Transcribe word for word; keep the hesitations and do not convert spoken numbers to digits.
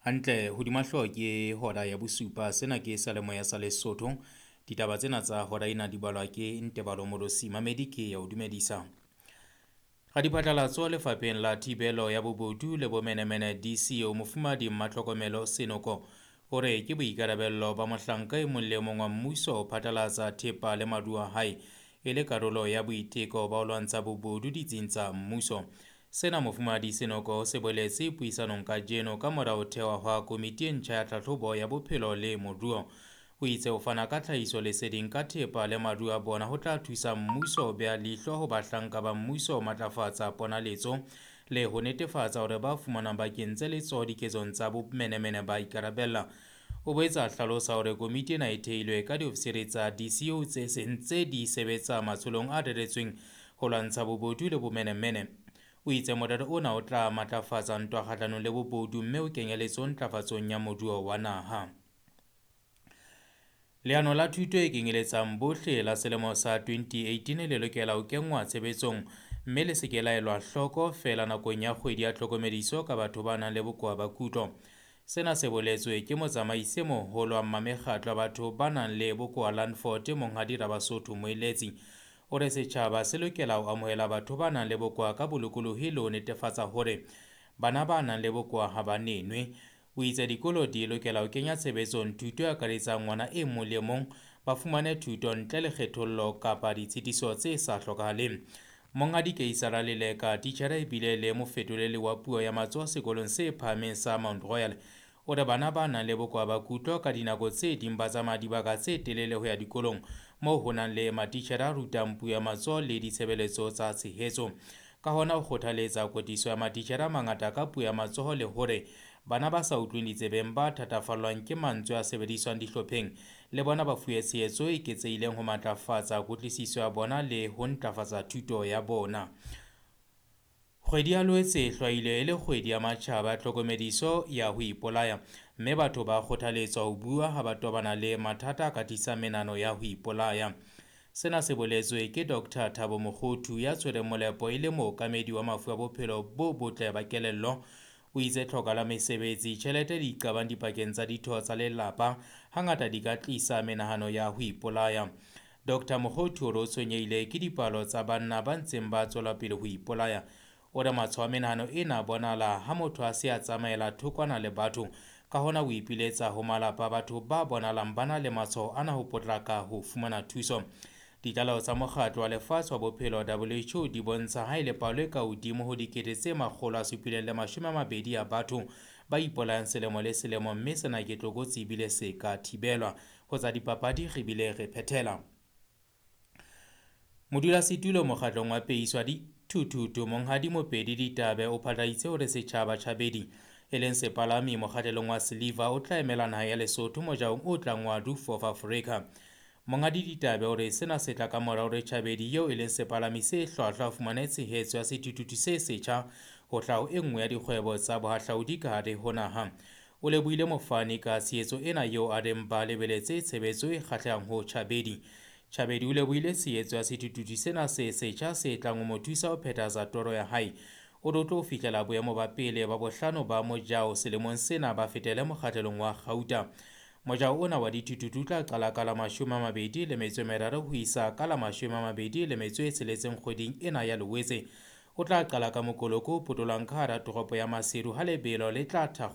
Hantle hodima hlooho ke hora ya bosupa. Sena ke seyalemoya sa Lesotho. Ditaba tsena tsa hora ena di balwa ke Ntebalo Morosi. Mamedi ke ya o dumedisa. Radiphatlalatso lefapheng la thibelo ya bobodu le bomenemene D C O Mofumahadi Mmatlhokomelo Senoko o re ke boikarabello ba mohlanka e mong le mong wa mmuso ho phatlalatsa thepa le maruo a hae e le karolo ya boiteko ba ho lwantsha bobodu ditsing tsa mmuso. Sena Mofumahadi Senoko o se boletse puisanong kajeno ka mora ho thehwa hwa komiti e ntjha ya tlhahlobo ya bophelo le moruo. O itse ho fana ka tlhahiso leseding ka thepa le maruo a bona ho tla thusa mmuso ho beha leihlo ho bahlanka ba mmuso ho matlafatsa ponaletso le ho netefatsa hore ba fumanwang ba kentse letsoho diketsong tsa bomenemene ba ikarabella. O boetse a hlalosa hore komiti ena e theilwe ka diofisiri tsa D C O tse seng tse di sebetsa matsholong a reretsweng ho lwantsha bobodu le bomenemene. O itse morero ona o tla matlafatsa ntwa kgahlanong le bobodu mme o kenye letsoho ntlafatsong ya moruo wa naha. Leano la thuto e kenyeletsang bohle la selemo sa twenty eighteen le lokela ho kenngwa tshebetsong mme le se ke la elwa hloko feela nakong ya kgwedi ya tlhokomediso ka batho ba nang le bokowa ba kutlo. Sena se boletswe ke motsamaisi e moholo wa mmamekgatlo wa batho ba nang le bokowa Landford Monghadi Rabasotho Moeletsi. O re setjhaba se lokela ho amohela batho ba nang le bokowa ka bolokolohi le ho netefatsa hore bana ba nang le bokowa ha ba nenwe. O itse dikolo di lokela ho kenya tshebetsong thuto e akaretsang ngwana e mong le e mong ba fumane thuto ntle le kgethollo kapa ditshitiso tse sa hlokahaleng. Monghadi Keisara Leleka, titjhere ebile le mofetoleli wa puo ya matsoho sekolong se phahameng sa Mount Royal, o re bana ba nang le bokowa ba kutlo ka dinako tse ding ba tsamaya dibaka tse telele ho ya dikolong moo ho nang le matitjhere a rutang puo ya matsoho le ditshebeletso tsa tshehetso. Ka hona o kgothaletsa kwetliso ya matitjhere a mangata ka puo ya matsoho le hore bana ba sa utlweng ditsebeng ba thatafallwang ke mantswe a sebediswang dihlopheng le bona ba fuwe tshehetso e eketsehileng ho matlafatsa kutlwisiso ya bona le ho ntlafatsa thuto ya bona. Kgwedi ya Loetse e hlwailwe e le kgwedi ya matjhaba ya tlhokomediso ya ho ipolaya mme batho ba kgothaletswa ho bua ha ba tobana le mathata a ka tlisang menahano ya ho ipolaya. Sena se boletswe ke Doctor Thabo Mokgothu ya tshwereng molepo e le mookamedi wa mafu a bophelo bo botle ba kelello. O itse tlhoka la mesebetsi, tjhelete le diqabang dipakeng tsa ditho tsa lelapa hangata di ka tlisa menahano ya ho ipolaya. Doctor Mokgothu o re o tshwenyehile ke dipalo tsa banna ba ntseng ba tswela pele ho ipolaya. O re matshwao a menahano ena a bonahala ha motho a se a tsamaela thokwana le batho. Ka hona o ipiletsa ho malapa a batho ba bonahalang ba na le matshwao ana ho potlaka ho fumana thuso. Ditlaleho tsa Mokgatlo wa Lefatshe wa Bophelo W H O di bontsha ha e le palo e ka hodimo ho dikete tse makgolo a supileng le mashome a mabedi ya batho ba ipolayang selemo le selemo mme sena ke tlokotsi ebile se ka thibelwa. Ho tsa dipapadi re bile re phethela. Modulasetulo mokgatlong wa peiso ya dithuthuthu Monghadi Mopedi Ditabe o phatlaladitse hore Setjhaba Chabedi e leng sepalami mokgahlelong wa Silver o tla emela naha ya Lesotho mojaong o tlang wa Roof of Africa. Monghadi Ditabe o re sena se tla ka mora hore Chabedi eo e leng sepalami se hlwahlwa a fumane tshehetso ya sethuthuthu se setjha ho hlaha ho e nngwe ya dikgwebo tsa bohahlaudi ka hare ho naha. O lebohile mofani ka tshehetso ena eo a reng ba lebeletse tshebetso e kgahlehang ho Chabedi. Chabedi o lebohile tshehetso ya sethuthuthu sena se setjha se tlang ho mo thusa ho phethahatsa toro ya hae. O re o tlo fihlela boemo ba pele ba bohlano ba mojao selemong sena ba fetele mokgahlelong wa kgauta. Mojao ona wa dithuthuthu o tla qala ka la mashome a mabedi le metso e meraro ho isa ka la mashome a mabedi le metso e tsheletseng kgweding ena ya Loetse. O tla qala ka mokoloko o potolohang ka hara toropo ya Maseru ha lebelo le tla thakgolwa